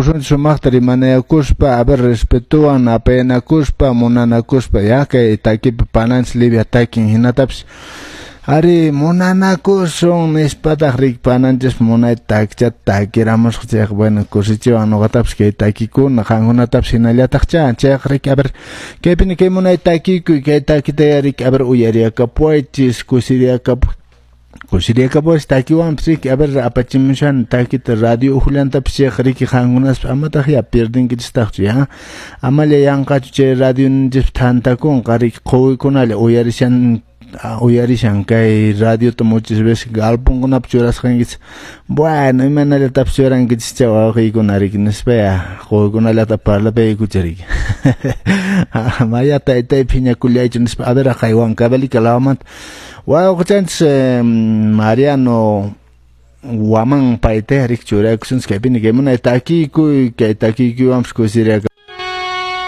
Sumaqta rimanayakuspa, a ver, respetuwan napayanakuspa, munanakuspa, ya kay takipi pananchis Livia takin hinatapis ari munanakusun nispataq rik pananchis munay takichata takiramusqa chayqa, bueno, kusichiwan nuqatapis kay takikuna, qankunatapis hinallataqcha chayqa rik, a ver, kaypini kay munay takikuy, kay takita rik, a ver, uyariyakapuwaychis, kusiriyakapu kusiriyakapuwaychis takiwanpis riki, a ver, apachimushani takita radio uhullantapis chayqa riki qankunaspas amataq ya pierdinkichistaqchu ya, amalla yanqachu chay radio ninchispi thantakunqa riki quwikunalla uyarishan uyarishan kay radiota muchas veces galponkunapi churasqankichis, bueno, imanallatapis churankichis chay wawqiykuna riki nispa ya quwikunallata parlapaykucha riki maya taytay phiñakullaychu nispa, a ver, haqay Huancavelica lawmanta wawqichanchis Mariano Waman payta rik churaykusunchis kaypini kay munay takikuy, kay takikuywanpis kusiriyaka.